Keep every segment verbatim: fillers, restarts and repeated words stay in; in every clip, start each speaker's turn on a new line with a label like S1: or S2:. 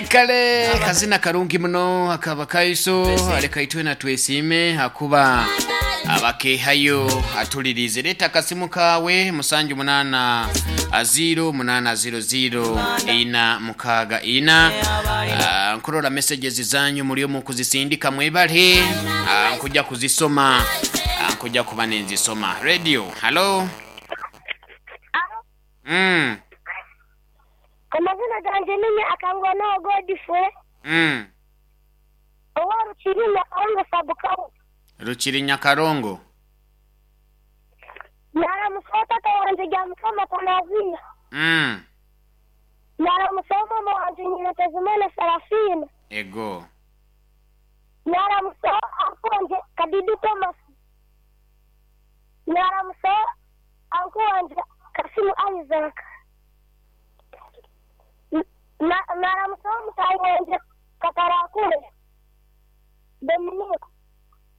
S1: Kale kazina karungi muno akaba kaiso aleka itwe na twesime hakuba abakehayo atulirize. Leta akasimu kawe musanju munana ziro munana ziro ziro ina mukaga ina. Ah, nkurora messages zanyu muri mu kuzisindika mwebale. Ah, nkuja kuzisoma. Ah, nkuja kuba nenzisoma. Radio hello. Mm.
S2: Amazina ganje ninye akangwa no Godfrey.
S1: Mm.
S2: Owa Rukiri Nyakarongo Sabukawu.
S1: Rukiri Nyakarongo.
S2: Naramusoma tata wanje gya Mukama Tanazina.
S1: Mm.
S2: Naramusoma mama wanje nyina Tezimana Sarafina.
S1: Ego.
S2: Naramusoma anko wanje Kadidu Thomas. Naramusoma anko wanje Kasimu Isaac. Naramusoma mutayi wanje Katarakure Dominic.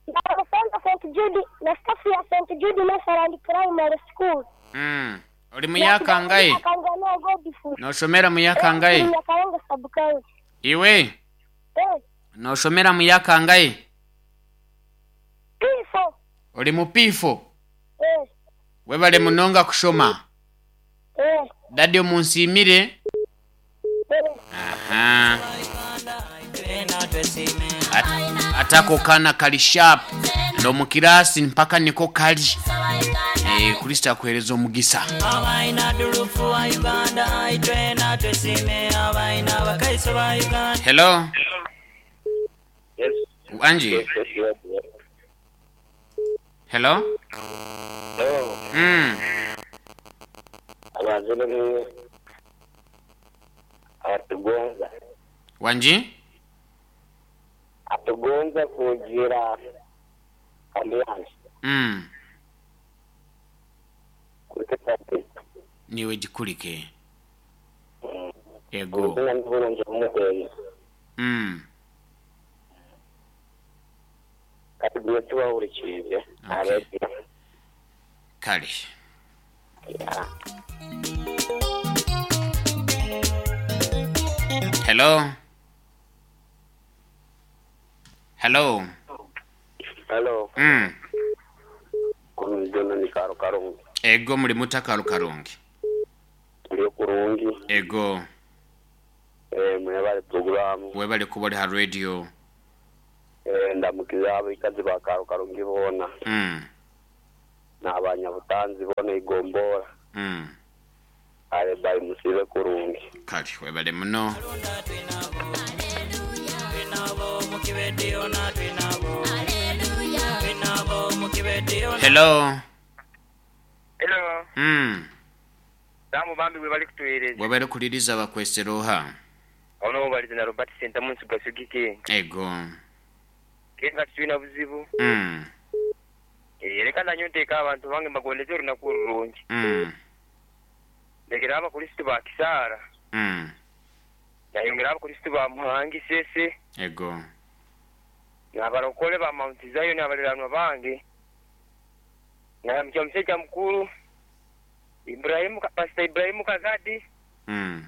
S2: Naramusoma Saint Jude na staff ya Saint Jude Nursery Primary School.
S1: Mm. Uri muyakangaye?
S2: Akangwa no Godfrey.
S1: Noshomera muyakangaye?
S2: Nyakarongo Sabukawu.
S1: Iwe
S2: Eh,
S1: noshomera muyakangaye?
S2: P four.
S1: Uri mu P four?
S2: Eh,
S1: webale munonga kushoma.
S2: Eh,
S1: dadi omunsimire.
S2: Eh.
S1: Aha. At, atako kana kali sharp ndo mukirasi mpaka niko kali. Eh, Kristo akuhereza omugisa.
S3: Abaina dulufu wa Uganda itwena twesime abaina bakaiso ba Uganda.
S1: Hello.
S4: Yes.
S1: Anji.
S4: Yes, yes, yes, yes.
S1: Hello.
S4: Hello.
S1: Mm.
S4: Abazire ni atugonza
S1: Wanji.
S4: atugonza kugira ambiance
S1: Mm.
S4: kuri
S1: Niwe gikurike. Ego.
S4: ubuzima n'uburungi bumugoye.
S1: Mm.
S4: Kandi tugiye tubahurikirize.
S1: Okay. Kale. Hello. Hello.
S4: Hello.
S1: Mm.
S4: Kumjono ni karo karungi.
S1: Ego, muri mutakaru karungi.
S4: Turi kurungi.
S1: Ego.
S4: Eh, mwebale programu.
S1: Webale kuba ori ha radio.
S4: Eh, ndamukiza abikazi ba karo karungi bona
S1: Mm.
S4: n'abanyabutanzi bona igombora.
S1: Mm.
S4: Ale bayi musibe kurungi.
S1: Kale webale muno. Hello.
S5: Hello,
S1: Mm.
S5: damu bambi we bali kutuweereza.
S1: Webale kuliriza bakwesera oha?
S5: Ono balize na Robert Sentamu nsugasugike.
S1: Ego.
S5: Kenga tulina buzibu.
S1: Mm.
S5: Eh, leka nanyo nteeka abantu bange mbagondeze olunaku olulungi.
S1: Mm.
S5: Ndekera abakristo ba Kisaara.
S1: Mm.
S5: Nayongera abakristo ba Muhangi Sese.
S1: Ego.
S5: N'abalokole ba Mount Zion abaliraanwa bange. Na musajja mukulu Ibrahimu Pastor Ibrahimu Kazadi.
S1: Mm.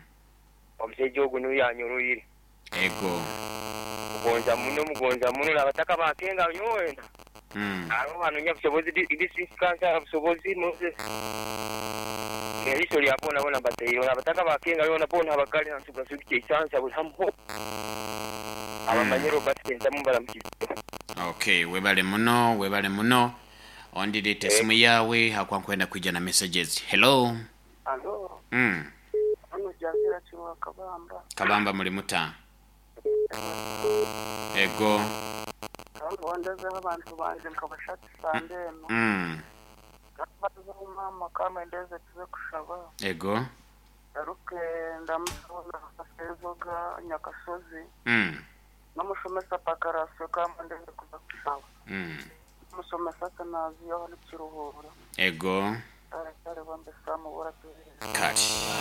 S5: Omusajja ogwo niyo yanyoroire.
S1: Ego.
S5: Mugonza muno, mugonza muno n'abataka bakenga nyowe.
S1: Mm.
S5: Abo banonya busobozi district council busobozi Moses eriiso lya bona bona bateire abataka bakenga yona bona abakali nsugasugike isansa buli hamu abamanye Robert Sentamu balamukiza.
S1: Okay, webale muno, webale muno. Ondirete esimu yawe hakwankwenda kwijja na messages. Hello.
S6: Alo,
S1: Mm.
S6: hano Jangira Kiwa Kabamba.
S1: Kabamba muri muta. Ego.
S6: Kandi wandezeho abantu banje nkabashakisa ndeno.
S1: Mm.
S6: Bazeho mama kama ndeze tuze kushaba.
S1: Ego.
S6: Garuke ndamusabona afezoga Nyakasozi.
S1: Mm.
S6: Namushomesa pakarasyo kama ndeze kuza kushaba.
S1: Mm.
S6: Musomesa kanazi aho ni Kiruhura.
S1: Ego.
S6: Kare kare bambe samu bora tuze.
S1: Kati.